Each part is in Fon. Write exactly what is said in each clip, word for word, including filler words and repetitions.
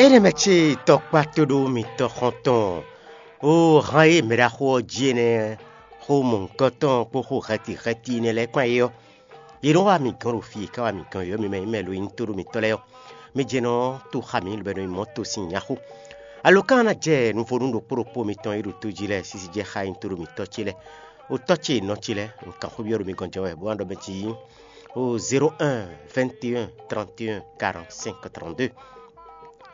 Énɛ́ mɛ ce tɔkpá tóɖó mitɔ́ xɔ́ntɔn ó hán e mɛɖaxó ɔ́ jí énɛ́ xó mɔ̌hunkɔtɔn kpó xó hɛtihɛti énɛ́ lɛ́ɛ kpán é ɔ́, yě nɔ wá mǐ gɔ́n ɖo fí e ká wá mǐ gɔ́n é ɔ́, mi mɛ e nyí mɛ lo e nyí tóɖó mitɔ́ lɛ́ɛ ɔ́, mi jɛ nɔ tó xá mǐ lobɛ́ nɔ nyí mɔ̌ to sín nyáxó. Alokan ná jɛ nuvónú ɖokpó ɖokpó mitɔn e ɖo tó jí lɛ́ɛ sísí jɛ xá nyí tóɖó mitɔ́ ce lɛ́ɛ. Ó tɔ́ ce nɔ ce lɛ́ɛ, un kan xó byɔ́ ɖo mi gɔ́n jɛ wɛ, bó ná ɖɔ mɛ jí ó zéro un vingt et un trente et un quarante-cinq trente-deux,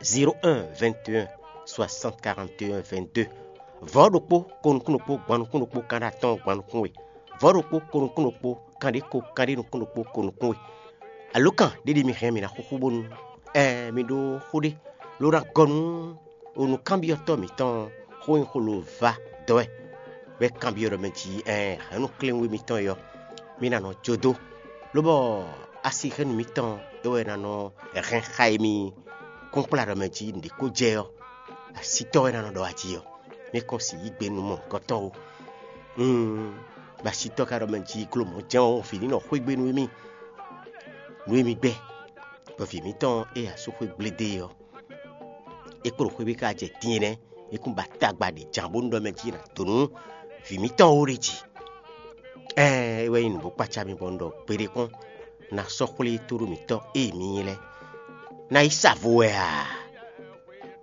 zéro un vingt et un soixante quarante et un vingt-deux. Vɔ̌ ɖokpó, ko nukún ɖokpó, gban nukún ɖokpó, kanɖé atɔ́ɔ́n, gban nukún we. Vɔ̌ ɖokpó, ko nukún ɖokpó, kanɖé ko, kanɖé nukún ɖokpó, ko nukún we. Alokan ɖé ɖi mi hɛn mi ná xúxú bónú ɛɛ mi ɖó xó ɖé ló ná gɔ́ nú onukánbyɔ́tɔ́ mǐtɔn xó nyi xó ló vá dɔ́ wɛ, bɔ é kanbyɔ́ ɖɔ mɛ jí ɛɛ hɛ̌nnu kléwún mitɔn e ɔ́, mi ná nɔ jó dó, lóbɔ asihɛ́nnu mitɔn é wɛ ná nɔ hɛn xá e mi kúnkplá ɖɔ mɛ jí nǔɖé ko jɛ ɔ́, asítɔ́ wɛ ná nɔ ɖɔ ají ɔ́. Mi kɔn si yí gbe nú mɔ̌hunkɔtɔn ó. Bɔ asítɔ́ ka ɖɔ mɛ jí gló mɔ̌ jɛ́n ɔ́, vǐ ní nɔ xwé gbe nú émí. Nǔ e mi gbɛ́, bɔ vǐ mǐtɔn e asú xwé gblédé ɔ́, é kpo ɖo xwé bí ká jɛ din é nɛ́, é kún ba tagba ɖě jǎn bónú ɖɔ mɛ jí è nǎ dó nú vǐ mǐtɔn ó ɖ'é jí. Ɛɛn, é wɛ nyí nǔ bó kpácá mi bɔ un ɖɔ gbeɖé kpɔ́n, ná sɔ́ xwlé tóɖó mǐtɔn e mi nyí lɛ́ɛ. Ná yi sa vo wɛ a?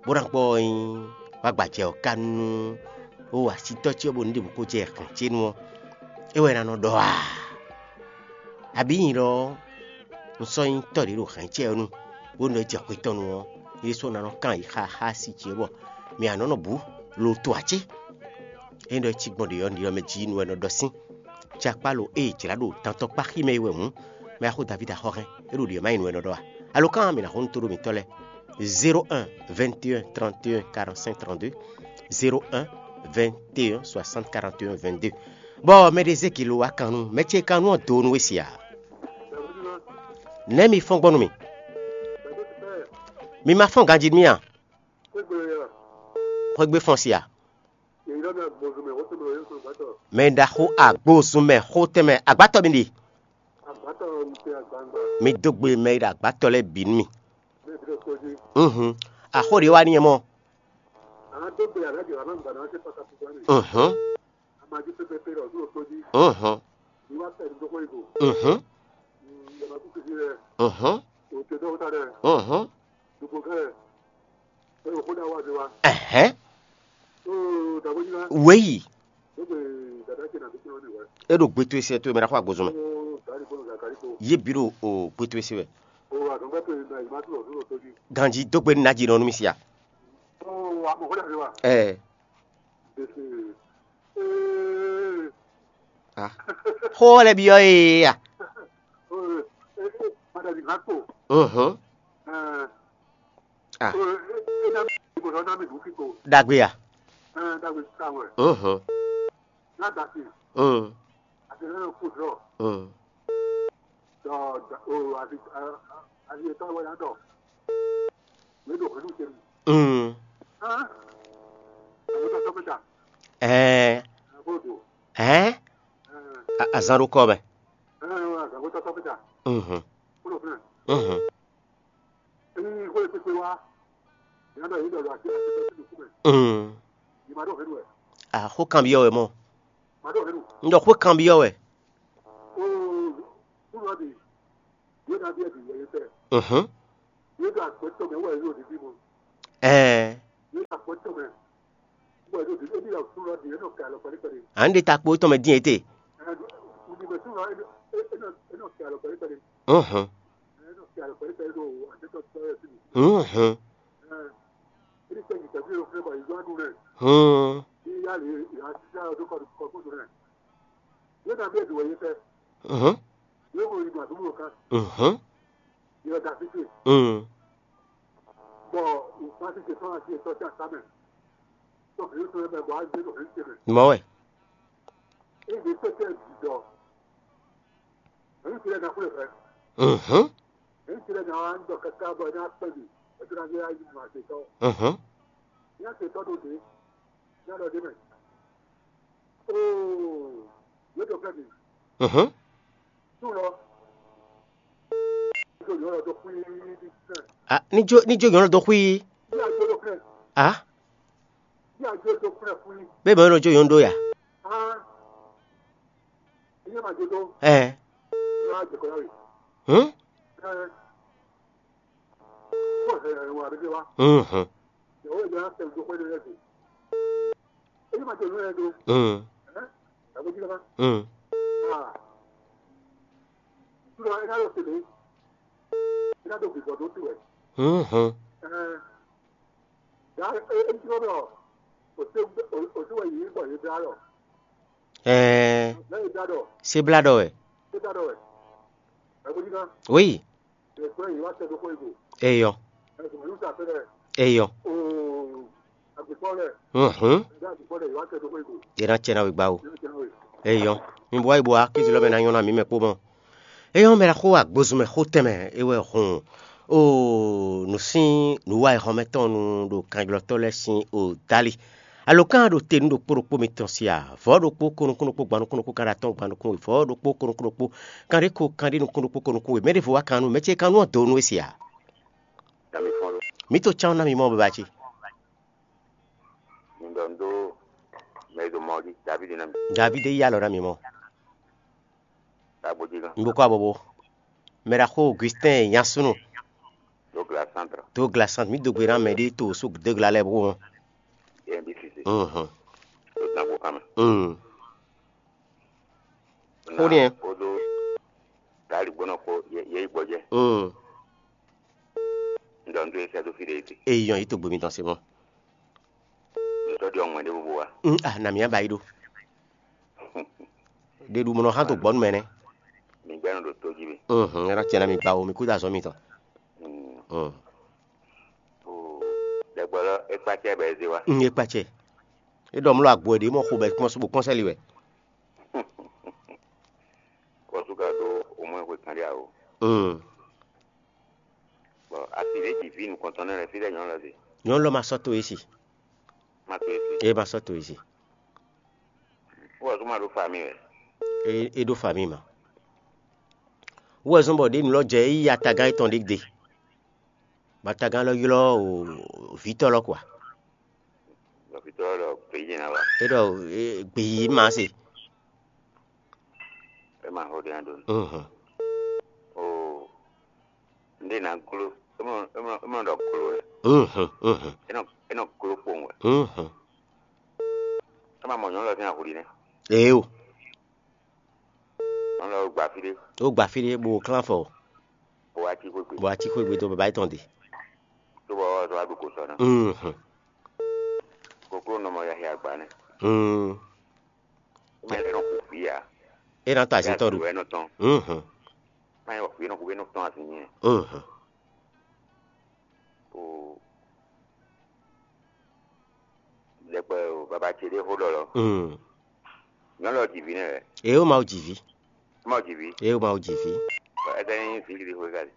Bó ná gbɔ ɔ́ nyí wá gbajɛ ɔ́ ka nú ó asítɔ́ ce ɔ́ bónú ɖěbǔ ko jɛ hɛ̌n ce nu ɔ́, é wɛ ná nɔ ɖɔ a? Abǐ nyi ɖɔ ɔ́, un sɔ́ nyí tɔ́ ɖě ɖo hɛ̌n ce ɔ́ nu, bónú é jɛ xwé tɔn nu ɔ́, é ɖésú ná nɔ kán yi xá xá asi ce bɔ mǐ ǎ nɔ nɔ bǔ lo to ǎ cé? Ényí ɖɔ é cí gbɔn ɖě ɔ́, ɖiɖɔ mɛ jí nu wɛ nɔ ɖɔ sín. Cakpá lo ée jlǎ ɖo tantɔkpá xí mɛ é wɛ hǔn, mɛ axó Davídi axɔ́hɛn, é ɖo ɖě ɔ́ má nyí nu wɛ nɔ ɖɔ a? Alo kán mǐ ná xo nú tóɖó mǐtɔn lɛ́ɛ. Zéro un vingt et un trente et un quarante-cinq trente-deux, zéro un vingt et un soixante quarante et un vingt-deux. Bɔ mɛ ɖé zé gǐ lo wá kan nú mɛ ce kan nú ɔ́ do nú we sia. Nɛ̌ mi fɔ́n gbɔn nú mì? Mi ma fɔ́n ganjí nú mì a? Xwé gbe fɔ́n sia. Mɛ e ɖo axó agbózun mɛ xó tɛnmɛ agbátɔ mi ɖe. Mi dó gbe mɛ e ɖo agbátɔ lɛ́ɛ bǐ nú mì. Uhun. Axó ɖě wá n'i mɔ. Uhun. Uhun. Uhun. Uhun. Uhun. Ɛhɛn. Wěyi. É ɖo gbe towe se towe mɛ ɖaxó agbozɔn mɛ. Yě bǐ ɖo o gbe towe se wɛ. Ganjí dó gbe nú ná jí nɔ nú mì sia. Ɛɛ. Ah. Xó lɛ́ɛ byɔ́ ee a? Uhun. Ah. Ɖagbe a? Uhun. Mm. Mm. Mm. Ɛɛ. Ɛɛ. A- azán ɖó kɔ mɛ. Mhm. Mhm. Mm. Axó kanbyɔ́ wɛ mɔ. Un ɖɔ xó kanbyɔ́ wɛ. Mhm. Ɛɛ. À ń ɖe ta kpo tɔn mɛ dín ete. Mhm. Mhm. Hmm. Mhm. Mhm. Hmm. Mɔ wɛ. Mhm. Mhm. Mhm. Ah, ní jó ní jó nyɔ̌nu dó xwí. A, bébà ɔ́ nɔ jó yɔn ɖó ya. Ɛ, hǔn. Hǔn. Hǔn. Hǔn. Ɛɛ, sebla ɖɔ wɛ. Oui. Eyɔ. Eyɔ. Hǔn. Yě ná cɛ ná we gbá o. Eyɔ. Mi bo wá yi bo wá, kéze lɔ mɛ ná nyɔ́ ná mǐ mɛ kpó mɔ. Eyɔ mɛ ɖaxó agbozun mɛ xó tɛnmɛ é wɛ hun. Oo, nǔ sín nǔwa e xɔmɛ tɔn nu ɖo kanjlɔ́tɔ́ lɛ́ɛ sín o dali. Alǒkan ɖo te nú ɖokpó ɖokpó mitɔn sí a? Vɔ̌ ɖokpó ko nukún ɖokpó gban nukún ɖokpó kan ɖo atɔ́ɔ́n gban nukún we, vɔ̌ ɖokpó ko nukún ɖokpó kanɖé ko kanɖé nukún ɖokpó ko nukún we. Mɛ ɖěvo wá kan nú mɛ ce kan nú ɔ́ dǒ nú we se a? Mǐ to cán ná mi mɔ baba ce. Mi ɖɔ un ɖó mɛ e ɖo mɔ ɔ́ ɖi Davídi ná mi. Davídi yí alɔ ná mi mɔ. Ɖagbo jí gán. Un ɖokó abɔbɔ. Mɛ ɖaxó Augustin Yansunu. Douglas Centre. Douglas Centre, mǐ dó gbe ná mɛ ɖé to so Douglas lɛ́ɛ bó wɔn. Yɛ bi sisi. Mhm. To dan ko kama. Mm. Xó nìyẹn. Kodo dali gbɔnɔ ko yɛ yi gbɔjɛ. Mm. Un ɖɔ un ɖó e sɛ́ dó fí ɖé e te. Eyɔn yi to gbe mitɔn se mɔ. Un tɔ́ ɖi ɔ́ ŋwɛ ɖé bó bó wa. Mm, ah, na mǐ ba yi ɖó. Ɖe ɖu mɔ nɔ hán to gbɔnu mɛ nɛ. Mi gbɛ́ nɔ ɖo tó jí mi. Mhm, ɛ ná tiɛ ná mi gba o, mi kú da azɔn mitɔn. Mm. Mm. O, ɖɛgbɔ lɔ é kpácɛ bɛ é zé wa. Mm, é kpácɛ. É ɖɔ mlɔ agbo ɖě mɔ xo bɛ kpɔ́n só bó kpɔ́n sɛ́li wɛ. Kɔsú ka ɖó omwɛ xwe kanɖé awo. Mm. Bɔ asi ɖě ji vǐ nukɔntɔn nɛ lɛ fí lɛ nyɔ̌nu lɔ se. Nyɔ̌nu lɔ ma sɔ́ to é si. Ma to é si. É ma sɔ́ to é si. Wɔ tó ma ɖó fami wɛ. É é ɖó fami ma. Wɔ zɔn bɔ ɖě nǔ lɔ jɛ é yí atagán étɔn ɖé gbe. Bɔ atagán lɔ ylɔ́ o vǐtɔ́ lɔ kɔa. Bɔ vǐtɔ́ lɔ gbeyíyí ná wa. É ɖɔ é gbeyíyí ma se. É ma xo ɖé ná ɖó. Mhm. O. Nɖé ná gló, é mɔ é mɔ é mɔ ɖɔ gló wɛ. Mhm, mhm. É nɔ é nɔ gló kpowun wɛ. Mhm. É ma mɔ nyɔ̌nu lɔ sín ahuli nɛ́. Ee o. Nyɔ̌nu lɔ gba fí ɖé. Ó gba fí ɖé bó klán fɔ. Bó wá cí xwé gbe. Bó wá cí xwé gbe dó baba yětɔn ɖe. Tó bɔ ɔ́ wá ɖu kǒ sɔ ná. Mhm. Kokló nɔ mɔ yahya agba nɛ́. Mm. Mɛ lɛ nɔ xu vǐ ǎ. É ná ta azǐn tɔn ɖu. Wɛ nɔ tɔn. Mhm. Má nyɛ wɔ vǐ nɔ xu é nɔ tɔn azǐn nyɛ. Mhm. O. Ɖɛkpɛ o baba ce ɖé xó ɖɔ lɔ. Mm. Nyɔnu ɔ́ ji vǐ nɛ́ wɛ. Ě ó Mawu ji vǐ. Má o ji vǐ. Ě ó Mawu ji vǐ. Bɔ é ka nyí vǐ ɖiɖi xwe ka ɖi.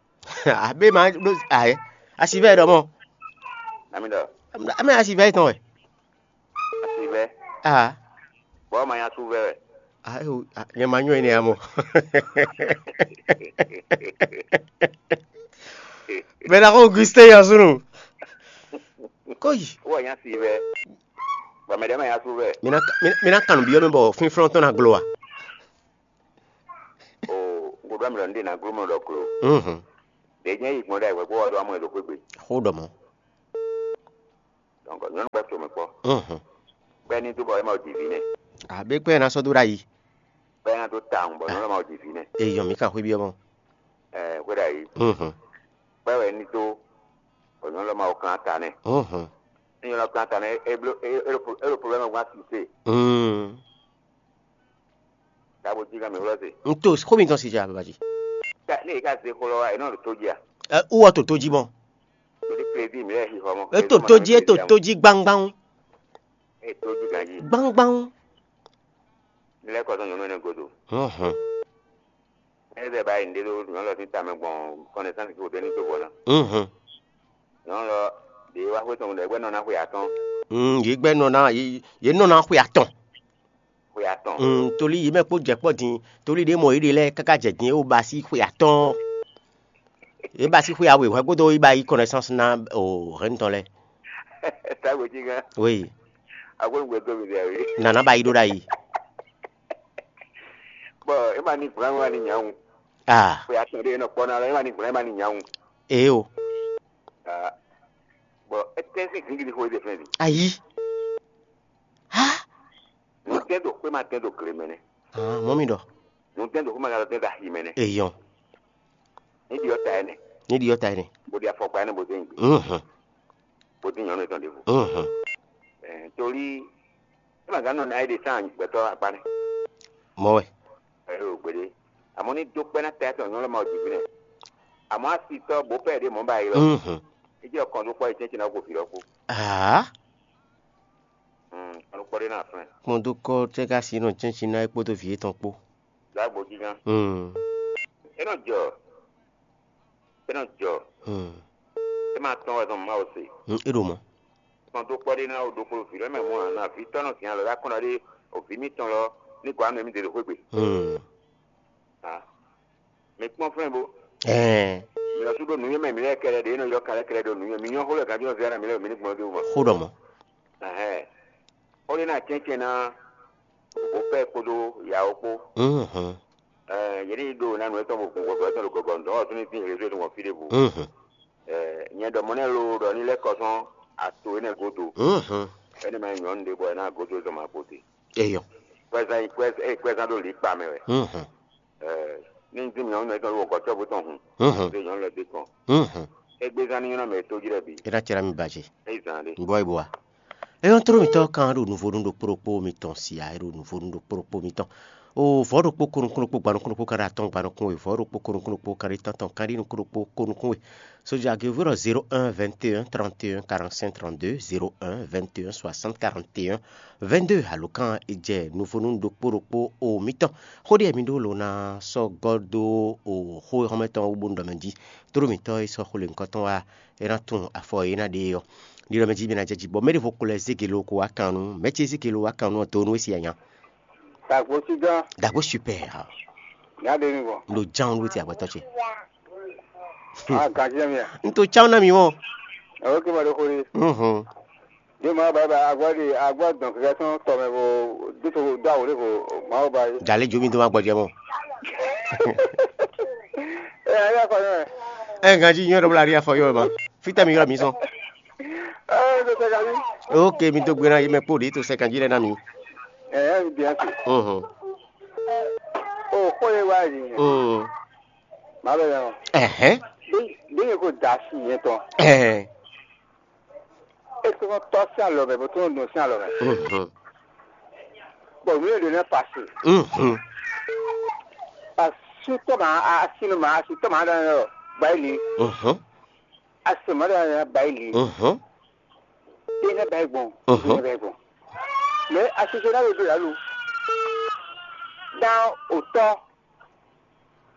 Abé ma ɖó ayɛ. Asi vɛ ɖɔ mɔ. Nami ɖɔ. Ame asi vɛ tɔn wɛ. Asi vɛ. Ah. Bɔ ma nya su vɛ wɛ. Ah, eh, oh, ah, nyɛ ma nyɔ ene amo. Bɛ na ko Augustin ya sunu. Koyi. Wɔ nya si vɛ. Bɔ mɛ ɖe ma nya su vɛ. Mina mina kanu biɔ mi bɔ finflɔn tɔn na glo wa. O, ŋgɔdɔ mi lɔ nde na glo mɔ dɔ klo. Mhm. Ɖe nyɛ yi gbɔn ɖe wɛ ko wɔ dɔ amɔ do kwe gbe. Xo dɔ mɔ. Donc nyɔnu gbɛ to mɛ kpɔ. Mhm. Gbɛ ni do bɔ ema o di vi nɛ. Abe kpɛ na sɔ do ɖa yi. Gbɛ na do ta ŋu bɔ nyɔnu ma o di vi nɛ. Eyɔn mi ka xwe biɔ mɔ. Ɛɛ xwe ɖa yi. Mhm. Gbɛ wɛ ni do bɔ nyɔnu ma o kan ta nɛ. Mhm. Ni nyɔnu kan ta nɛ e blo e e lo problème gba si se. Mhm. Dabo jí ká mi wlɔ se. N to xó mi tɔn si ja baba jí. Ka ne e ka ze xó lɔ wa e nɔ ɖo tó jí a. Ɛ wúwɔ to tó jí mɔ. Lórí crédit mi lɛ xixɔ mɔ. E to tó jí e to tó jí gbangban. E tó jí ganji. Gbangban. Mi lɛ kɔsɔn nyɔnu ne godo. Hɔn hɔn. E bɛ ba yi nde do nyɔnu lɔ sin tamɛ gbɔn connaissance ko deni to bɔ na. Mhm. Nyɔnu lɔ de wa xwe tɔn ɖe gbɛ nɔ na xwe atɔn. Mm, yě gbɛ nɔ na yě yě nɔ na xwe atɔn. Xwe atɔn. Mm, toli yě mɛ kpó jɛ kpɔ din, toli ɖě mɔ yě ɖe lɛ káká jɛ din, é wó ba sí xwe atɔn. É ba sí xwe awe hwɛ gbódó é ba yí connaissance ná o hɛn tɔn lɛ. Tágbó jí gán. Oui. Agbóhùn gbé dó mi dɛ wé. Nana ba yi ɖó ɖa yi. Bɔ é ma ní gblan wá ní nyawun. Ah. Xwe atɔn ɖé nɔ kpɔ́ ná lɔ é ma ní gblan é ma ní nyawun. Ee o. Ah. Bɔ é tɛ́ sín gíngídí xó é ɖe fɛn di. Ayi. Ha. Nǔ tɛ́ ɖo xwé ma tɛ́ ɖo gle mɛ nɛ́. Ah, mɔ mi ɖɔ. Nǔ tɛ́ ɖo xwé ma tɛ́ ɖo axi mɛ nɛ́. Eyɔn. Ní ɖiɔ ta ɛnɛ. Ní ɖiɔ ta ɛnɛ. Bó ɖi afɔkpa ɛnɛ bó dé nyigbe. Mhm. Bó dín nyɔ̌nu yětɔn ɖěvo. Mhm. Ɛɛ, torí é ma gán nɔ ná é ɖe sán gbɛtɔ́ akpá nɛ́. Mɔ wɛ. Ɛyó gbeɖé. Àmọ́ ní dó kpɛ́ ná ta ɛtɔn nyɔ̌nu lɔ ma wɔ jǐví nɛ. Àmọ́ asitɔ́ bó pɛ́ ɖě mɔ̌ ba yi lɔ. Mhm. É jẹ́ ọkàn tó kpɔ́ yě tɛ́ntin ná kó fi lɔ kú. Aa. Kɔn tó kpɔ́ ɖé ná flɛ́n. Kpɔn dó kɔ́ tɛ́ ká sí nɔ tɛ́ntin ná é kpódó vǐ yětɔn kpó. Dǎgbó gígán. Mm. É nɔ jɔ. É nɔ jɔ. Mm. É ma tɔn wɛ zɔn Mawu se. Mm, é ɖo mɔ̌. Kɔn dó kpɔ́ ɖé ná o ɖokpó vǐ lɛ́ mɛ mɔ̌ ǎ, ná vǐ tɔ́ nɔ zǐn alɔ ɖó akɔ́n ɖɔ ɖé o vǐ mitɔn lɔ ní gɔ̌ amɛ mì ɖe ɖo xwé gbe. Mm. Ah. Mi kpɔ́n flɛ́n bo. Ɛɛ. Mi lɔ sú ɖo nǔnywɛ́ mɛ mi lɛ́ kɛɖɛ ɖě nɔ ylɔ́ ka lɛ́ kɛɖɛ ɖo nǔnywɛ́. Mi nyɔ́ xó lɛ ganjɔ́ zɛ mi lɛ́ mi ní gbɔn dó mɔ. Xó ɖɔ mɔ̌. Ɛhɛn. Xó ɖé ná cɛ́ncɛ́n ná bó pɛ́ kpódó yawo kpó. Mhm. Ɛɛ, yě ní ɖo ná nǔ étɔn bo gun gbɔgbɔ étɔn ɖo gɔgɔ ŋdɔ̌ ɔ́ súnnu sín réseau tɔn gbɔn fí ɖěbǔ. Mhm. Ɛɛ, nyɛ ɖɔ mɔ̌ nɛ́ loo ɖɔ ní lɛ́ kɔ sɔ́n ato énɛ́ gúdo. Mhm. Énɛ́ mɛ nyɔ̌nu ɖé bɔ é ná gúdo zɔn ma kpo te. Eyɔ. Kwɛzán yi kwɛzán, ée kwɛzán ɖo lǐkpa mɛ wɛ. Mhm. Ɛɛ, ní dín mǐ nyɔ̌nu étɔn ɖo wɔ̌kɔ́cɔ́bú tɔn hun. Mhm. Ɖe nyɔ̌nu lɛ́ɛ dé kɔn. Mhm. Égbézán ní nyɔ́ mɛ tó jí lɛ́ɛ bǐ. É ná cɛ́ ná mi baje. É zán ɖé. Bɔ é bɔ wa. Eyɔ́n tló mitɔ́ kan ɖo nuvo nú ɖokpó ɖokpó mitɔn sia, é ɖo nuvo nú ɖokpó ɖokpó mitɔn. O vɔ̌ ɖokpó ko nukún ɖokpó gba nukún ɖokpó kan ɖo atɔ́ɔ́n gba nukún we, vɔ̌ ɖokpó ko nukún ɖokpó kan ɖo tántɔn kan ɖo nukún ɖokpó ko nukún we. Sójà Guevoro zéro un vingt et un trente et un quarante-cinq trente-deux, zéro un vingt et un soixante quarante et un vingt-deux, alo kan e jɛ nuvo nú ɖokpó ɖokpó o mitɔn. Xó ɖé mi ɖó lǒ ná sɔ́ gɔ́ dó o xó e xɔ́mɛ tɔn wú bónú ɖɔ mɛ jí. Tló mitɔ́ e sɔ́ xó lě nyǐkɔ tɔn wá é ná tunwun afɔ e é ná ɖe é ɔ́. Ɖiɖɔ mɛ jí mi ná jɛ jí bɔ mɛ ɖěvo ko lɛ́ zé gelo ko wá kan nú mɛ ce zé gelo wá kan nú ɔ dó nú é siya nya. Dagbo sí gán. Dagbo super. Nya ɖe mi bɔ. Lo ján ló ti agbɛtɔ ce. Ah, gajɛ mi a. N to cán ná mi mɔ. Ɛwɔ kí ma ɖo xo ɖe. Mhm. Ɖé ma ba ba agbɔ ɖe agbɔ dɔn kɛkɛ tɔn tɔ mɛ bo dito do awo ɖe ko ma ba yi. Jalè jo mi do ma gbɔjɛ mɔ. Ɛ ayé akɔ yɔ. Ɛ ganji nyɔ ɖɔ bla ri afɔ yɔ ma. Fita mi yɔ mi sɔn. Ɛ do sɛ gani. Ok, mi do gbera yi mɛ kpo ɖe to sɛ ganji lɛ na mi. Ɛ ɛ bi asi. Mhm. O ko ye wa yi. Mhm. Má bɛ yɔ. Ɛhɛn. Bí bí ko da si yẹn tɔn. Ɛhɛn. E tó nɔ tɔ sí alɔ mɛ, bó tó nɔ dùn sí alɔ mɛ. Mhm. Bɔn mi yóò dé nɛ pasi. Mhm. Asi tɔ ma, asi nu ma, asi tɔ ma ɖe nɔ ba yi li. Mhm. Asi ma ɖe nɔ ba yi li. Mhm. Dé nɛ ba yi gbɔn. Mhm. Dé nɛ ba yi gbɔn. Mɛ asi tɔ na bɛ do lalu. Dan o tɔ.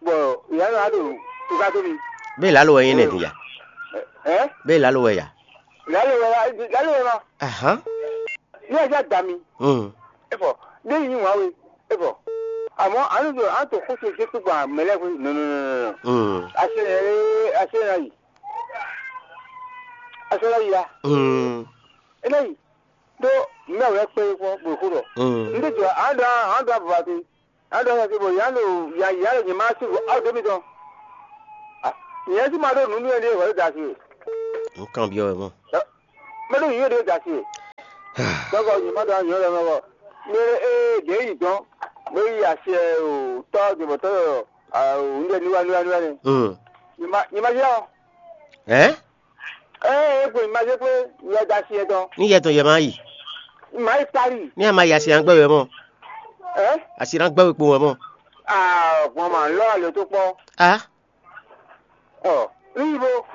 Bɔ ìyá lɔ wá ɖo tuka tó mi. Bẹ́ẹ̀ lálọ́ wɛ yín nɛ dùn yá. Ɛ? Bẹ́ẹ̀ lálọ́ wɛ yá. Lálọ́ wɛ lálọ́ wɛ ma. Ahán. Ní ẹja da mi. Mm. E fɔ, ní yín wá we. E fɔ, àmọ́ àánú tó àánú tó kó so jésù gbà mẹ́lẹ́ fún nù nù nù nù. Mm. Àṣẹ yẹn àṣẹ yẹn yìí. Àṣẹ yẹn yìí ya. Mm. Eléyìí tó mẹ́wàá pé kó bò kúrò. Mm. Ndé tó àádọ́ àádọ́ àbúrò àti. Aɖɔ xɛsi bɔ yǎ ɖo yǎ yǎ ɖo nyɛ ma sí aw dó mi tɔn. Nyɛ sí ma ɖó nǔ nú ɛɖíe hwɛ̌ da sí we. Nkan byɔ́ wɛ mɔ. Mɛ ɖo yǐ ɖe da sí we. Dɔkɔ nyɛ ma ɖo anyɔ lɛ mɛ bɔ. Mɛ e ɖě yi dɔn. Mɛ yi asi ɛ o tɔ debɔtɔ yɔ o ŋɖɛ niwa niwa niwa ni. Hmm. Nyɛ ma nyɛ ma yɔ. Ɛ? Ɛ ɛ gbe ma se kple yɛ da si yɛ dɔn. Ní yɛ tɔn yɛ ma yi. Ma yi Paris. Ní a ma yi asi an gbɛ wɛ mɔ. Ɛ? Asi an gbɛ wɛ kpo wɛ mɔ. Aa gbɔn ma lɔ alo tó kpɔ. A. Ɔ ní yi bo.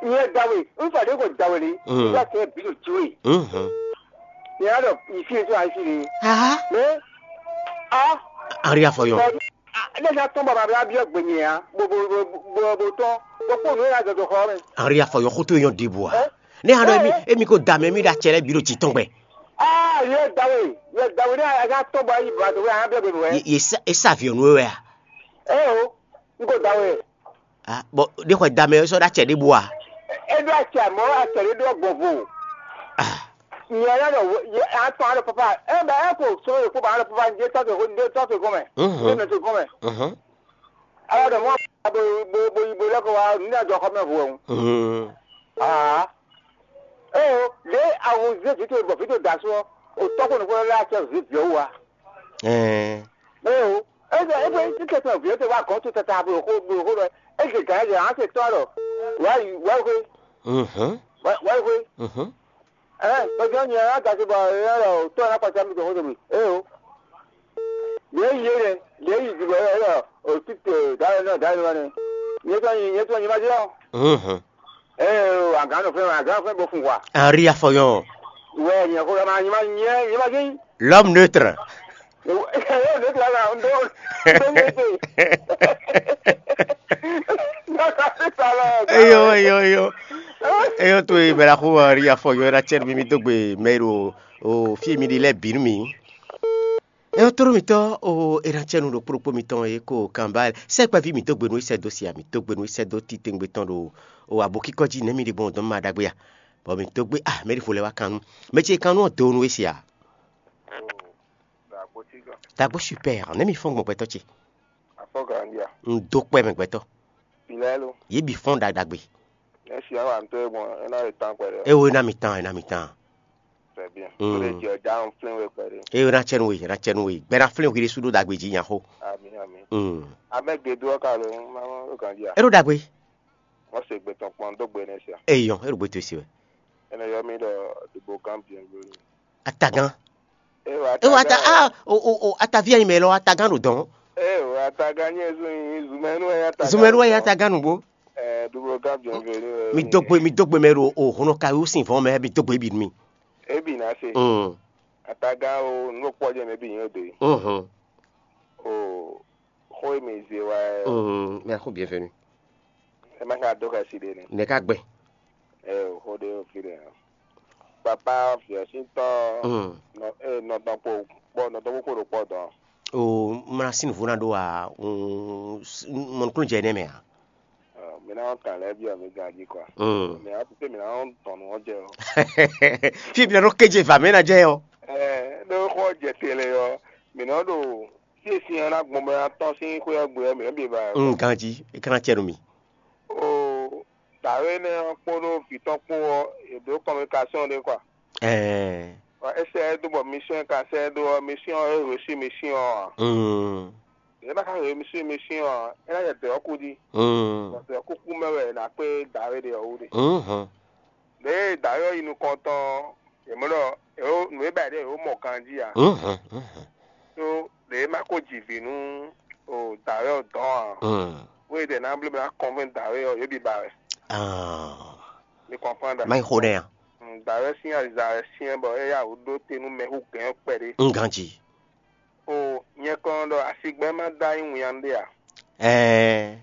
Yɛ dawe n fa de ko dawe li. Mm. N ka kɛ bi to tiwe. Mhm. Yɛ a dɔ yi fi to ayi fi de. Aha. Mɛ a. Ari afɔ yɔ. Ɔ, a ne ka tɔn baba bla biɔ gbenye ya bo bo bo bo bo tɔn bo kpɔ nu ya dɔdɔ xɔ mɛ. Ari afɔ yɔ xoto yɔ de bua. Ɛ? Ne hã ɖɔ emi emi ko da mɛ mi ɖe atsɛ lɛ bi ɖo tsi tɔn gbɛ. Aa yɛ dawe yɛ dawe ne a ka tɔn bɔ ayi ba to wɛ a bɛ bɛ wɛ. Ye ye sa e sa avion nu wɛ a. Ɛ o n ko dawe. Ah, bon, ɖe xɔ da mɛ sɔ ɖe atsɛ ɖe bua. É ɖó acɛ mɔ̌, acɛ ɖé ɖó gbɔn vo. Nyɛ lɛ́ ɖɔ, a tɔn aɖɔ papa, ɛ bɛ ɛ ko sɔ́ ɖo kpó ba aɖɔ papa, ndé tɔ́ te ko ndé tɔ́ te gɔn mɛ, ndé nɔ te gɔn mɛ. Aɖɔ ɖɔ mɔ bo bo bo yi bo lɛ́ ko wá nǔ ní ajɔ xɔ mɛ vo ɛ̀hún. Aa, ee o, ɖě awu zé vǐ towe bɔ vǐ towe da asú ɔ́, o tɔ́ ko nukún lɛ́ acɛ zǐ vǐ ɔ́ wú a? Ɛɛ. Ee o, eze ebe títí tɔn vǐ ɔ́ te wá gɔ̌n tó tata bo xó bo xó ɖɔ, eze gǎn eze hǎn se tɔ́ ɖɔ, wǎ yi wǎ yi xwé, Mhm. Wǎ yi xwé. Mhm. Ɛɛ, bɛjɔ nyɛ ɔ́ dasi bɔ ɛ ɖɔ tɔ́ ná kpata mi tɔn xó to mi. Ee o, ɖě yi yé nɛ, ɖě yi dǐbɔ ɛ ɖɔ o títí dǎwe náà dǎwe náà nɛ. Nyɛ tɔn nyi nyɛ tɔn nyi ma jɛ ɔ́. Mhm. Ee o, agǎn nɔ fɛn agǎn fɛn bɔ fun wa. Ari afɔyɔ. Wɛ nyɛ xó ma nyi ma nyɛ nyi ma jɛ. L'homme neutre. Eyo, ne tla la ndo. Eyo, eyo, eyo. Eyo to e bɛla xo ri afɔ yɔ era cɛ mi mi dogbe mɛ ro o fi mi di lɛ bi mi. Eyo toro mi tɔ o era cɛ nu do kpokpo mi tɔn e ko kanba sɛ kpa vi mi dogbe nu isɛ do sia mi dogbe nu isɛ do ti tengbe tɔn do o abo kikɔ ji ne mi di gbɔn dɔn ma dagbe ya. Bɔ mi dogbe ah mɛ di fo lɛ wa kanu. Mɛ ce kanu do nu e sia. Dagbo super, ne mi fɔn gbɔn gbɛtɔ ce. Afɔ gandia. N do kpɛ mɛ gbɛtɔ. Pilɛ lo. Ye bi fɔn ɖaɖagbe. Ne si awa n to e gbɔn, e na le tan kpɛ ɖe. E wo na mi tan, e na mi tan. Très bien. Mm. Ko le jɛ da n flin we kpɛ ɖe. E wo na cɛnu we, na cɛnu we. Gbɛ na flin we ɖe su ɖo dagbe ji nya xo. Ami ami. Mm. Amɛ gedo ka lo, ma ma lo gandia. E ɖo dagbe. Wọ́n ṣe gbẹ̀tàn pọ́n dó gbé ní ẹsẹ̀. Eyɔn, e ɖo gbé to esi wɛ. Ẹnì yọ mí ɖɔ dìbò kan biɛngbé. Atagán. Ewɔ E wa ata ah o o o atavi anyi mɛ lɔ atagán ɖo dɔn. Ewɔ atagán nyɛ zu nyi zumɛnu ɛ atagán. Zumɛnu ɛ atagán nugbo. Ɛ dìbò kan biɛngbé ni wɛ. Mi dogbe mi dogbe mɛ ɖo o hɔnɔ kayo sin vɔn mɛ mi dogbe bi mi. Ebi na se. Mm. Atagán o nukpɔ jɛ mɛ bi nyɛ de. Mhm. O xo e mi ze wa ɛ. Mm. Mɛ xo bienvenue. Ɛ ma ka dó xɛsi ɖe nɛ. Nɛ ka gbɛ. Ɛ o xo ɖe o fi ɖe. Papa fiɛsintɔ Mm. Nɔ e nɔ dɔn kpo kpɔ nɔ dɔn kpo ɖo kpɔ dɔn. O mla sin vo na ɖo a mɔnukun jɛ ne mɛ a. Ɔ, mi na kan lɛ bi ɔ mi gan ji kɔ. Mm. Mi a tute mi na tɔn nu ɔ jɛ o. Fi bi na ɖo keje va mɛ na jɛ yɔ. Ɛ ɖo xɔ jɛ tele yɔ mi na ɖo fi esi yɔ na gbɔn bɛ na tɔn sin xwe ɔ gbe yɔ mi na bi ba yɔ. Mm, ganji e kana cɛ nu mi. O dǎwe nɛ ɔ kpódó vǐ tɔn kpó ɔ, è ɖǒ kɔminikasiɔn ɖé kɔ. Ɛɛ. Bɔ é sɛ ɛ dó bɔ mission ka sɛ ɛ dó ɔ, mission ɔ́ é hwesí mission ɔ́ ǎ. Mm. Yě ná ká hwesí mission ɔ́ ǎ, é ná yɛ dɔ̌ ɔ́ kú jí. Mm. Bɔ dɔ̌ kúkú mɛ wɛ è nǎ kpé dǎwe ɖe ɔ́ wú ɖe. Mhm. Lě e dǎwe ɔ́ yi nukɔn tɔn ɔ́, yě mɔ ɖɔ è ó nǔ e ba yě ɖe è ó mɔ ganjí ǎ. Mhm. Mhm. Ɖó lě e ma ko ji vǐ nú o dǎwe ɔ́ dɔn ǎ. Mm. Wé ɖe ná bló ná kɔnvɛn dǎwe ɔ́, yě bǐ ba wɛ. Ah. Mi kɔnfán ɖa. Má yi xo ɖɛ ya. Dǎwe sín aza wɛ syɛ́n bɔ é yá wǔ ɖó te nú mɛxú gɛ̌n ɔ́ kpɛɖé. Un ganji. O nyɛ kɔn ɖɔ asigbɛ́ má dó anyí winnyá ɖé a? Ɛɛ.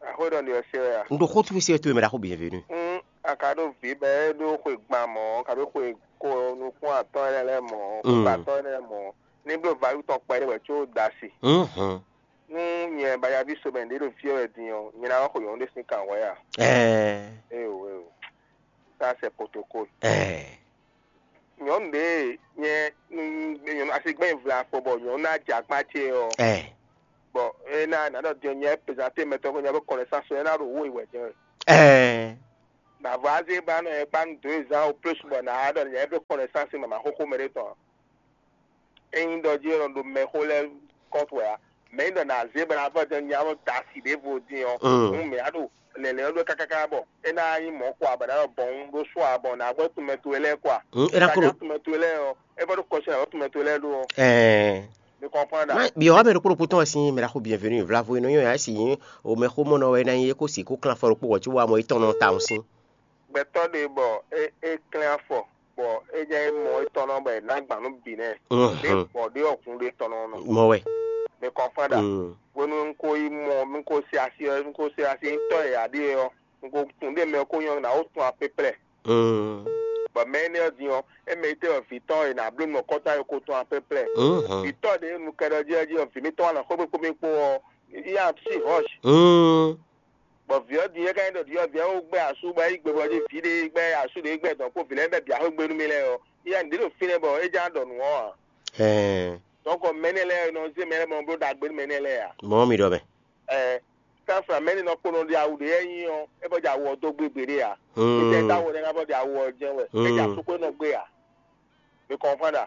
Axwé ɖɔ ɖi ɔ́ se wɛ a? Un ɖo xó tufí se wɛ towe mɛ ɖaxó bienvenu. Un a ka ɖo vǐ bɔ é ɖó xwe gban mɔ̌, ka ɖó xwe ko nukún atɔ́ énɛ́ lɛ́ɛ mɔ̌, Mm. xwe atɔ́ énɛ́ lɛ́ɛ mɔ̌. Ní bló vayu tɔn kpɛɖé wɛ có da si. Mhm. Nú nyɛ bayaví somɛ ɖě ɖo fí ɔ́ wɛ din ɔ́, nyɛ ná wá xo nyɔ̌nu ɖé sín kan hwɛ̌ a? Ɛɛ. Éyo éyo. Ça c'est protocole. Ɛɛ. Nyɔ̌nu ɖě nyɛ nyɔ̌nu asigbɛ́n vla afɔ bɔ nyɔ̌nu ná jɛ akpá ce ɔ́. Ɛɛ. Bɔ é ná ná ɖɔ din nyɛ pezanté mɛtɔn ko nyɛ bó connaissance é ná ɖo wó yi wɛ jɛ. Ɛɛ. Nǎ vɔ azé ba nɔ nyɛ kpá nú deux ans au plus bɔ nǎ ɖɔ nyɛ bó connaissance mama xóxó mɛ ɖé tɔn. Ényí ɖɔ jí é nɔ ɖo mɛxó lɛ́ɛ kɔ́fu wɛ ǎ. Mɛ nyí ɖɔ nǎ zé bɔ ná vɔ jɛ nya nɔ da asi ɖěvo dín ɔ́, Mm. Hǔn mǐ á ɖo lɛ̌nlɛ́n ɔ́ ɖó kákáká bɔ é ná nyí mɔ̌ kɔ ǎ bɔ ná ɖɔ bɔ̌n ɖó sɔ ǎ bɔ nǎ gbɔ tunmɛ towe lɛ́ɛ kɔ ǎ. Mm, é ná kó ɖo Tunmɛ towe lɛ́ɛ ɔ́, é vɔ ɖó kɔsí ná gbɔ tunmɛ towe lɛ́ɛ ɖó ɔ́. Ɛɛ. Mi kɔnfán ɖa. Má bi ɔ́ mɛ ɖokpó ɖokpó tɔn wɛ sín mɛ ɖaxó bienvenu vlavo e nɔ nyɔ ya si nyí o mɛ xó mɔ nɔ wɛ ná nyí é kó si kó klán afɔ ɖokpó wɔ cí wa mɔ étɔn nɔ ta ɔ́ sín. Gbɛtɔ́ ɖé bɔ é é klɛ́n afɔ bɔ é jɛ é mɔ étɔn nɔ bɔ è nǎ gbǎn nú bǐ nɛ́. Mhm. Ɖé bɔ ɖé ɔkun ɖé tɔn nɔ nɔ. Mɔ wɛ. Mi kɔnfán ɖa. Mm. Hwenu un ko yi mɔ un ko se asi ɔ́ un ko se asi tɔ́ e aɖíe ɔ́ un ko tunwun ɖé mɛ ko nyɔ́ ná ó tun apɛ́plɛ́. Mm. Bɔ mɛ énɛ́ ɔ́ din ɔ́, é mɛ yi tɛ́ wɛ vǐ tɔn e nǎ bló nɔ kɔ́tɔ́ e ko tɔn apɛ́plɛ́. Mhm. Vǐ tɔn ɖě nu kɛɖɔ jí ɔ́ jí ɔ́, vǐ mítɔn wá nɔ xwé kpó mì kpó ɔ́, yá sí hɔ́sh. Mm. Bɔ vǐ ɔ́ din é ka nyí ɖɔ ɖi ɔ́, vǐ ɔ́ ko gbɛ asú bɔ é yi gbe bɔ jí vǐ ɖé gbɛ asú ɖé gbɛ dɔn kpó vǐ lɛ́ɛ bɛ bǐ axwé gbe nú mì lɛ́ɛ ɔ́, iya nǔɖé ɖo fínɛ́ bɔ é já ɖɔ nǔ ɔ́ ǎ. Ɛɛ, Donc mɛnɛ lɛ́ɛ nɔ zé mɛ lɛ́ɛ mɔ bló ɖagbe nú mɛnɛ lɛ́ɛ ǎ. Mɔ̌ mi ɖɔ mɛ. Ɛɛ, Safra mɛnɛ nɔ kpɔ́n nɔ ɖi awu ɖé yɛ nyi ɔ́, é bɔ ɖi awu ɔ́ dó gbe gbeɖé ǎ. É jɛ dó awu ɔ́ ɖé ná bɔ ɖi awu ɔ́ jɛ́n wɛ. É jɛ asúkpé nɔ gbé ǎ. Mi kɔnfán ɖa.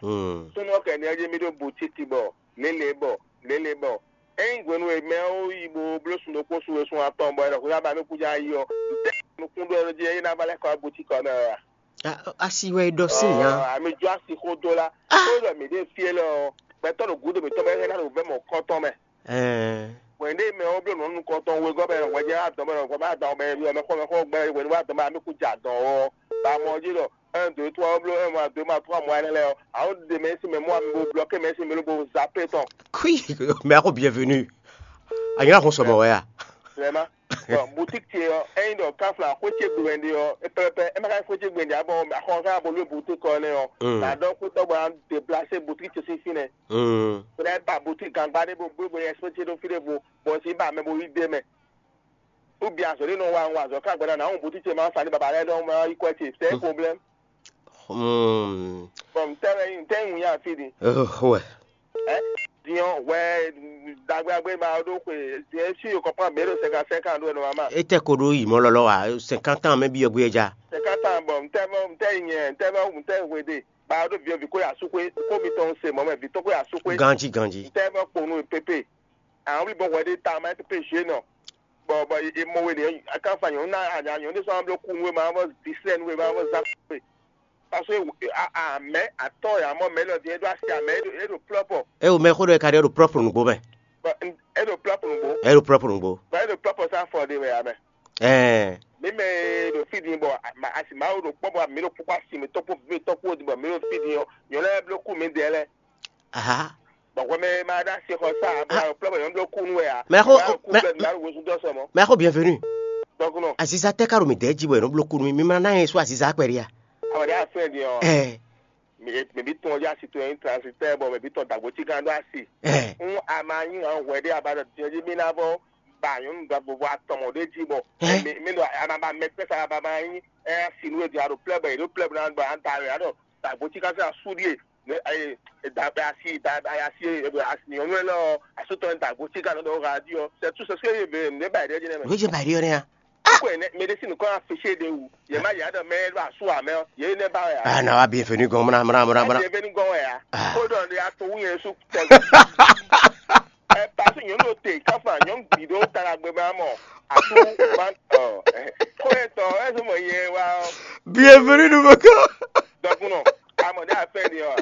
Súnnu ɔ́ kɛ ní ɔ́ jí mì ɖó boutique bɔ lélé bɔ lélé bɔ. Ényí hwenu e mɛ ɔ́ yi bo bló sun ɖokpó sun we sun atɔn bɔ é ɖɔ xwé ná ba mì kú já yi ɔ́, nukún ɖó ɔ́ jí é ná ba lɛ́ kɔ wá boutique ɔ́ mɛ wɛ a? Asi wɛ é ɖɔ sín nya. Ami jó asi xó dó lá. Tó ɖɔ mǐ ɖe fí élɔ́ ɔ́, gbɛtɔ́ ɖo gǔdo mǐtɔn mɛ é ná ɖo vɛ́ mɔ̌kɔ́tɔn mɛ. Ɛɛ, Hwɛ̌n ɖé mɛ ɔ́ bló nǔ nukɔntɔn wegɔ́ mɛ hwɛ̌ jɛ adɔ̌ mɛ hwɛ̌ adɔ̌ mɛ xɔ mɛ xɔ gbɛ hwɛ̌ nú adɔ̌ mɛ ami kú jɛ adɔ̌ ɔ́, ba mɔ jí ɖɔ un dǒ tó ɔ́ bló un ma dǒ ma tó amɔ ɛnɛ lɛ́ɛ ɔ́, àwọn ɖe mɛ sín mɛ mɔ ami bo blɔ́kɛ mɛ sín mɛ ló bo zá pé tɔn. Kui, mais ako bienvenue. Anyina xɔ sɔmɔ wɛ ya. Vraiment. Bon, boutique ce ɔ́, ényí ɖɔ káfla xwé ce gbe wɛ ɖe ɔ́, é pɛ́pɛ́ é ma ka xwé ce gbe ɖe ǎ bɔ axɔ ká bo lú boutique ɔ́ nɛ́ ɔ́, nǎ ɖɔ xwé tɔgbo ná déplacé boutique ce sín fínɛ́. Bó ná ba boutique gangba ɖé bó bó bó yɛ sɔ́ ce ɖó fí ɖěvo, bɔ un sixú ba mɛ bo yí d'é mɛ. Ou bien azɔ̌ ɖé nɔ wa un wa azɔ̌ ká gbɛɖá ná wɔn boutique ce ma sa ní baba lɛ́ɛ ɖɔhun ma yí kwɛ́ ce, c'est un problème. Hmm. Bon, un tɛ wɛ un tɛ un ya fi di. Oh, ouais. Hein? Dion, ouais, dagbe agbe ma ɖo xwe, dion si yo comprend mɛ ɖo cinquante cinq ans ɖo ɛnɔ mama. Ete ko ɖo yi mɔ lɔlɔ wa cinquante ans mɛ bi ɔgbé ja. Cinquante ans, bon, un tɛ un tɛ nyɛ, un tɛ un tɛ hwe de. Ba ɖo vieux vi ko ya su xwe, ko mi tɔn se mɔ mɛ vi tɔn ko ya su xwe. Ganji ganji. Un tɛ un kponu pepe. Àwọn wuli bɔ wɛ de ta ma pepe je nɔ. Bɔ bɔ e mɔ we de, akan fa nyɔnu na anya nyɔnu de sɔn blo kun we ma bɔ disɛn we ma bɔ zan we. Parce que a a mɛ atɔ ya mɔ mɛ lɔ di e ɖo asi amɛ e ɖo e ɖo plɔpɔ. E o mɛ xo ɖɔ e ka ɖe ɖo propre nugbo mɛ. Bɔ e ɖo plɔpɔ nugbo. E ɖo propre nugbo. Bɔ e ɖo plɔpɔ sa fɔ de wɛ amɛ. Ɛɛ. Mi mɛ ɖo fi din bɔ asi mawo ɖo kpɔ bɔ mi ɖo kpɔkpɔ asi mi tɔkpɔ vi tɔkpɔ di bɔ mi ɖo fi din ɔ nyɔnu lɛ blo ku mi dɛ lɛ. Aha. Bɔn hwɛ mɛ ma ɖo asi xɔ sa bɔ aɖo plɔ bɔ nyɔnu blo ku nu wɛ a. Mɛ xo Ku bɛ na ɖo wosu dɔ sɔ mɔ. Mɛ xo bienvenue. Donc non. Aziza tɛ ka ɖo mi dɛ ji bɔ yɛn nɔ blo kunu mi mi ma na yɛn so aziza kpɛ ɖi a. Awɔ ɖe afɛ di ɔ. Ɛɛ. Mɛ bi tɔn ya si to yin transitɛ bɔ mɛ bi tɔn dagbo ti kan ɖo asi. Ɛɛ. N a ma nyi hàn hwɛ ɖe aba ɖɔ diɛ di mi na bɔ ba nyɔnu ɖagbo bɔ atɔmɔ ɖe ji bɔ. Ɛɛ. Mi mi ɖo a ma ba mɛ kpɛsa ba ma nyi ɛ asi nu e di a ɖo plɛ bɔ e ɖo plɛ bɔ na ɖɔ a da wɛ a ɖɔ dagbo ti kan sɛ asu ɖie ne ayi da asi da ayi asi e asi nyɔnu lɛ lɔ asu tɔn dagbo ti kan ɖo radio c'est tout ce que ye be ne ba ɖe ji ne mɛ. Wíjì bàrí ọ̀rẹ́ yẹn. Ko ne médecine ko affiché de wu ye ma ya ɖɔ mɛ ɖo asu amɛ ye ne ba ya. Ah, na wa bienvenue gan mra mra mra mra. Ati ebe nu gɔn ya. Ah. Ko dɔn de ato wu yẹn su tɛ. Ɛ pasi nyɔnu ɖo te kafa nyɔnu bi ɖo tara gbe ma mɔ asu ban ɔ ko etɔ ɛsɛ mɔ yɛ wa. Bienvenue nouveau camp. Dɔkunɔ amɔ de afɛ de ɔ.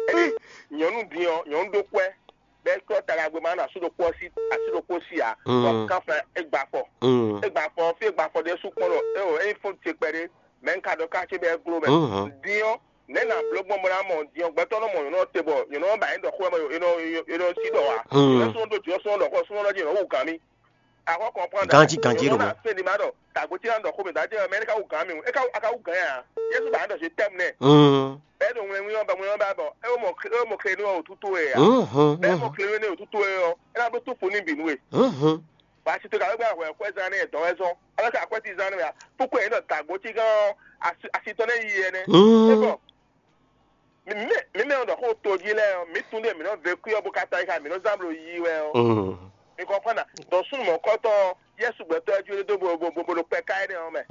Ɛdi nyɔnu diɔ nyɔnu ɖo kpɛ bɛ kɔ tara gbe ma na asu ɖo kpɔ si asu ɖo kpɔ si a. Kɔ kafa egba fɔ. Egba fɔ fi egba fɔ de su kpɔ ɖo eo eyi fo te kpɛ de mɛ nka ɖɔ ka ce bɛ glo mɛ. Diɔ ne na blo gbɔn bɔ na mɔ diɔ gbɛtɔ nɔ mɔ nyɔnu te bɔ nyɔnu ba yɛn dɔ xɔ mɛ yɔ yɔ si dɔ wa. Yɔ sɔn do diɔ sɔn dɔ xɔ sɔn dɔ di yɔ wu gan mi. Akɔ kɔnpɔn da. Ganji ganji ɖo mɔ. Fɛn di ma dɔ tagbo ti na dɔ xɔ mi da jɛ mɛ ne ka wu gan mi e ka wu gan ya. Yesu ba dɔ se tɛm nɛ. Bɛ do ŋlɛ ŋlɛ ba ŋlɛ ba bɔ e mɔ e mɔ kle ni wa otutu e ya. E mɔ kle ni otutu e yɔ e na blo tu fo ni bi nu e. Ba si to ka gba hwɛ kwɛ zan ne dɔn wɛ zɔn. Ala ka kwɛ ti zan ne ya. Pukɔ e dɔ tagbo ti gan asi tɔ ne yi yɛ nɛ. E bɔ mi mɛ mi mɛ dɔ xo to ji lɛ mi tun de mi nɔ ve kui ɔ bo ka ta yi ka mi nɔ zan blo yi wɛ ɔ. Mi kɔnpɔn na dɔn sunu mɔkɔtɔ Yesu gbɛtɔ ɛ ju do bo bo bo bo kpɛ ka ɛ nɛ ɔ mɛ.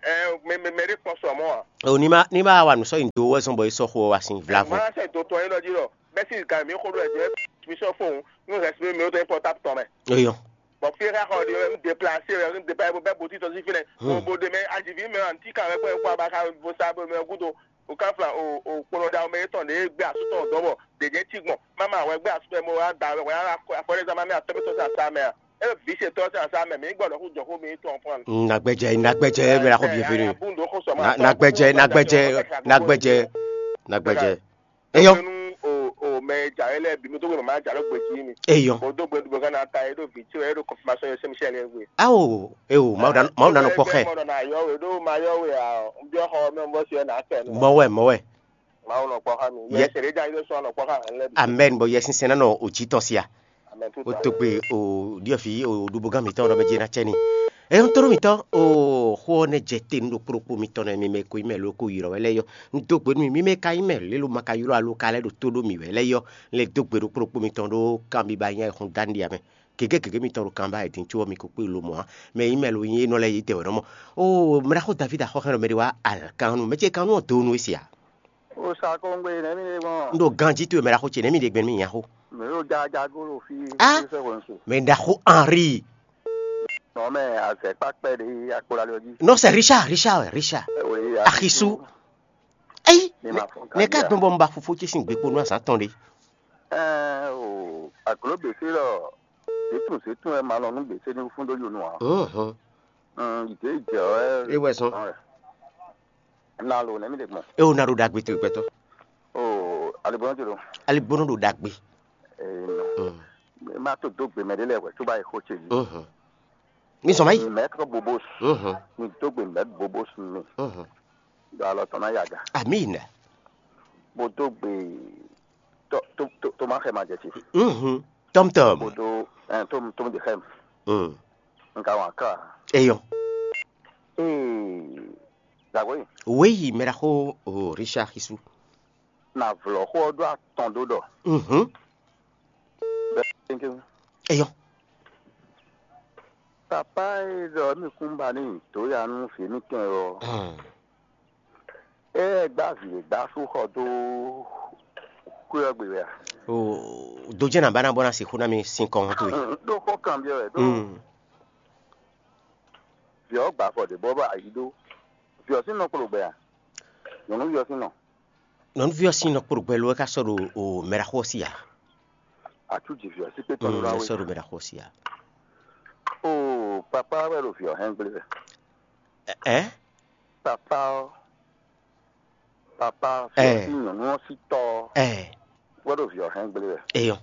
Ɛ mɛ mɛ mɛ de kpɔ sɔ mɔ a. O ní ma ní ma wa nù sɔ yìí do wɛ zɔn bɔ yìí sɔ xo wa sin vlavo. Ma sɛ do tɔ yín lɔ jí lɔ bɛ si gan mi xo do ɛ jɛ mi sɔ fo nu respect mi o tɛ portable tɔ mɛ. Eyɔ. Bɔn fi ka xɔ de n déplacé wɛ n déplacé bɛ bo ti tɔ si fi nɛ. Bo bo de mɛ ajivi mɛ an ti kan wɛ kpɛ kpɔ a ba ka bo sa bo mɛ gudo. O ka fla o o kplɔn da o mɛ etɔn de gbé asutɔ dɔ bɔ de jɛ ti gbɔn mama wɛ gbé asutɔ mɔ wa da wɛ wa afɔ de zama mɛ atɔ bɛ tɔ sa sa mɛ a. E vi se tɔ sa sa mɛ mi gbɔdɔ ku jɔ ko mi tɔn fún. Nagbɛjɛ nagbɛjɛ mɛ la ko bienvenue. Nagbɛjɛ nagbɛjɛ nagbɛjɛ nagbɛjɛ. Eyɔ. O o mɛ ja yɛ lɛ bi mi to gbɛ ma ja lɔ gbɛ ji mi. Eyɔ. O do gbɛ dugbo kana ta e do vi ti e do confirmation yɛ sɛmi sɛ lɛ gbɛ. Awo ewo mawu da mawu da nɔ kpɔ xɛ. Mɔ na yɔ we do ma yɔ we a n bi xɔ mɛ n bɔ si yɛ na kɛ. Mɔwɛ mɔwɛ. Mawu nɔ kpɔ xa mi. Yɛ sɛ de ja yi do sɔ nɔ kpɔ xa lɛ bi. Amen bɔ yɛ sinsɛn na nɔ o ji tɔ sia. Ó dó gbe o ɖiɔ́ví o ɖubogan mǐtɔn ɖɔ mɛ jɛ ná cɛ ní. Ɛ ń tló mǐtɔn o xó ɔ́ nɛ́ jɛ te nú ɖokpó ɖokpó mitɔn nɛ́ mi mɛ ko nyí mɛ ló ko yi ɖɔ wɛ lɛ́ɛ yɔ. Un dó gbe nú mi, mi mɛ ka nyí mɛ lě lo ma ka ylɔ́ alo ka lɛ́ ɖo tó ɖó mì wɛ lɛ́ɛ yɔ. Un lɛ́ dó gbe ɖokpó ɖokpó mitɔn ɖó kanbiba nyanya e xɔn dá nɖia mɛ. Gěgé gěgé mitɔn ɖo kanba e din có ɔ́ mi ko kpé lo mɔ̌ ǎ. Mɛ nyí mɛ lo nyí énɔ́ lɛ́ɛ yě dɛ wɛ nɔ mɔ. O mɛ ɖaxó Davídi axɔ́ hɛn ɖɔ mɛ ɖé wá alǎkánnu mɛ ce kannú ɔ́ dó nú é se ǎ. O sa kɔngbe nɛ̌ mi ɖe gbɔn? Un ɖo ganjí towe mɛ ɖaxó ce nɛ̌ mi ɖe gbɛn nú mì nyaxó? Mǐ ɖo jaja golo fí. Ah! Fí sɛ́ hwenu se. Mɛ ɖaxó Henri. Nɔ mɛ azɛ kpakpɛ ɖe akpolali ɔ́ jí. Non, c'est Richard, Richard, ouais, Richard. Oui, Axisu. Eyi, ne ka gbɔn bɔ un ba fofo ce sín gbekpo nú azǎn tɔn ɖé. Ɛɛ o, aglo běsé lɔ, zětun zětun wɛ ma lɔ nú běsé ní fún ɖó yonu ǎ. Mhm. Yìdé jɛ wɛ. E wɛ zɔn. Na lo nɛ̌ mi ɖe gbɔn? E o na ɖo ɖagbe towe gbɛtɔ. O aligbɔnɔ ce ɖo. Aligbɔnɔ ɖo ɖagbe. Ee, Mm. Ma to dó gbe mɛ ɖé lɛ́ɛ wɛ tó bá yi xó ce yìí. Mhm. Mi zɔn ma yi. Mɛ tɔgɔ bobo Mhm. Mi dó gbe mɛ bobo sun mi. Mhm. Ɖo alɔ tɔn ná yi aga. Amin. Bó dó gbe tó tó tó tó má xɛ ma jɛ ce. Mhm. Tɔm tɔm. Bó dó ɛ tó tó de xɛ mi. Mm. Nka wan ká. Eyɔn. Ee, dàgbé. Wéyi mɛ ɖaxó o Richard Xisu. Na vlɔ̌ xó ɔ́ ɖó atɔn ɖó ɖɔ. Mhm. Bɛ́ tɛ́ntin. Eyɔn. Papa e ɖɔ mi kún ba ní dǒ ya nú vǐ mitɔn ɔ́. Mm. Ée gbá vǐ e gbá sú xɔ dó xwé ɔ́ gbe wɛ a? O dojɛ na ba na bɔ na sixú na mi sin kɔn to. Ɖó xɔ kan biɔ wɛ ɖó. Mm. Vǐ ɔ́ gbà afɔ ɖě bɔ bɔ ayi ɖó. Vǐ ɔ́ sín nɔ kplɔ́ gbɛ a? Nyɔ̌nuví ɔ́ sín nɔ. Nyɔ̌nuví ɔ́ sín nɔ kplɔ́ gbɛ lo é ka sɔ́ ɖo o mɛɖaxó ɔ́ sí a? Atú ji vǐ ɔ́ sí kpé tɔn ɖó ná wé. Sɔ́ ɖo mɛɖaxó ɔ́ sí a? O papa wɛ ɖo vǐ ɔ́ hɛn gblé wɛ. Ɛ? Papa ɔ́, papa vǐ ɔ́ sín nyɔ̌nu ɔ́ sí tɔ́ ɔ́ wɛ ɖo vǐ ɔ́ hɛn gblé wɛ. Eyɔn.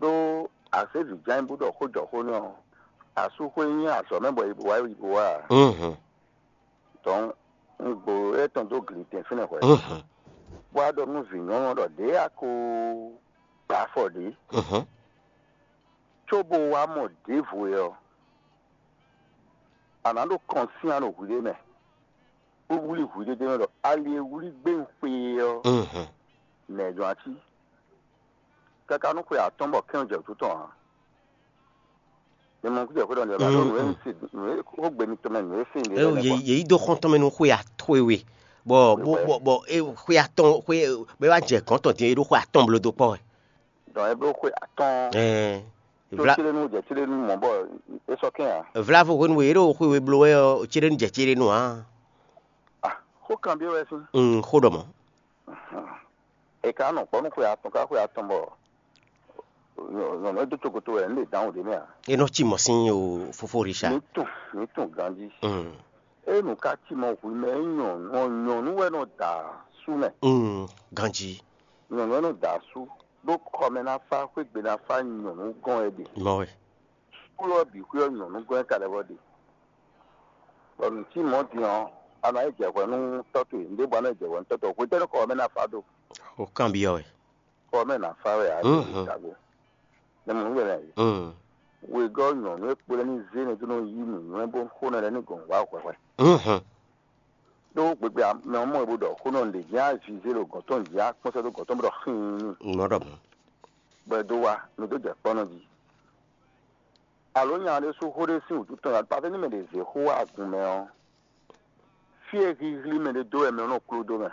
Ɖó azévǐ ján bó ɖɔ xó jɔ xó n'i ɔ́, asúxwé nyí azɔ̌ mɛ bɔ yi bó wá yi bó wá a? Mhm. Dɔn un gbo étɔn dó glitɛn fínɛ́ hwɛ̌. Mhm. Bó wá ɖɔ nú vǐ nyɔ́nu ɔ́ ɖɔ ɖěe a ko gba afɔ ɖě. Mhm. Cóbó wá mɔ ɖěvo é ɔ́, a nǎ ɖo kɔn syán ɖo hwiɖée mɛ, bó wlí hwiɖée ɖ'é mɛ ɖɔ ali e wlí gbé un xwe é ɔ́, Mhm. nɛ̌ jɔ́n ací? Káká nú xwe atɔ́ɔ́n bɔ kɛ́n jɛ wǔtu tɔn ǎ. Mi mɔ kújɛ xwé ɖɔ nǔ e nǔ e se nǔ e xó gbe mitɔn mɛ nǔ e se nǔ e Eo lɛ́ɛ yě nɛ́ yě yi dó xɔ́ntɔn mɛ nú xwe atɔ́we we, bɔ bó Wɛ. Bɔ bɔ é xwe atɔ́ɔ́n xwe bɔ é wá jɛ gɔ̌n tɔn din é ɖó xwe atɔ́ɔ́n bló dó kpɔ́ wɛ. Dɔn é bló xwe atɔ́ɔ́n Ɛɛ, tó vla céɖénú jɛ céɖénú mɔ̌ bɔ é sɔ́ kɛn ǎ. Vlavo hwenu e é ɖo xwe we bló wɛ ɔ́, céɖénú jɛ céɖénú ǎ. Ah, xó kanbyɔ́ wɛ sín. Un xó ɖɔ mɔ̌. È ka nɔ kpɔ́ nú xwe atɔn ká xwe atɔn bɔ nyɔ̌nu e dó cokoto wɛ nǔ ɖe dǎnwǔ ɖé mɛ ǎ. É nɔ cí mɔ̌ sín o fofó Richard. Mǐ tunwun mǐ tunwun ganjí. Mm. Ée nǔ ka cí mɔ hwi mɛ é nyɔ̌nu ɔ́, nyɔ̌nu wɛ nɔ da asú mɛ. Mm, ganjí. Nyɔ̌nu wɛ nɔ da asú, ɖó xɔmɛ ná fá, xwé gbe ná fá, nyɔ̌nu gɔ́n wɛ ɖe. Mɔ wɛ. Kúlɔ bǐ xwé ɔ́ nyɔ̌nu gɔ́n wɛ ka lɛ́ vɔ ɖe. Bɔ nǔ cí mɔ̌ din ɔ́, a nɔ yi jɛ hwɛ nú tɔ́ towe, nǔɖé bɔ a nɔ yi jɛ hwɛ nú tɔ́ towe. Hwetɛ́nu xɔ ɔ́ mɛ ná fá do? O kanbyɔ́ wɛ. Xɔ ɔ́ mɛ ná fá wɛ ǎ, Mhm. Tago. Nɛ mɔ nǔ wɛ lɛ́ɛ. Mm. Wegɔ́ nyɔ̌nu e kpo lɛ́ɛ ní zé nɛ́ dó nɔ yí nǔnywɛ́ bó xó nɛ́ lɛ́ɛ ní gɔ̌n wá hwɛhwɛ. Mhm. Ɖó gbegbe mɛ ɔ́ mɔ e bó ɖɔ xó nɔ ɖě jɛ́n azize ɖo gɔ̌n tɔn jí akpɔ́n sɛ́ dó gɔ̌n tɔn bó ɖɔ xíin. Mɔ̌ ɖɔ mɔ̌. Bɔ è dó wá, mi dó jɛ kpɔ́ nɔ jí. Alo nya ɖé sú xó ɖé sín wǔtu tɔn, alɔ pafɛ́ ní mɛ ɖě zé xó wá agun mɛ ɔ́, fí e híhlí mɛ ɖé dó wɛ mɛ ɔ́ nɔ kló dó mɛ.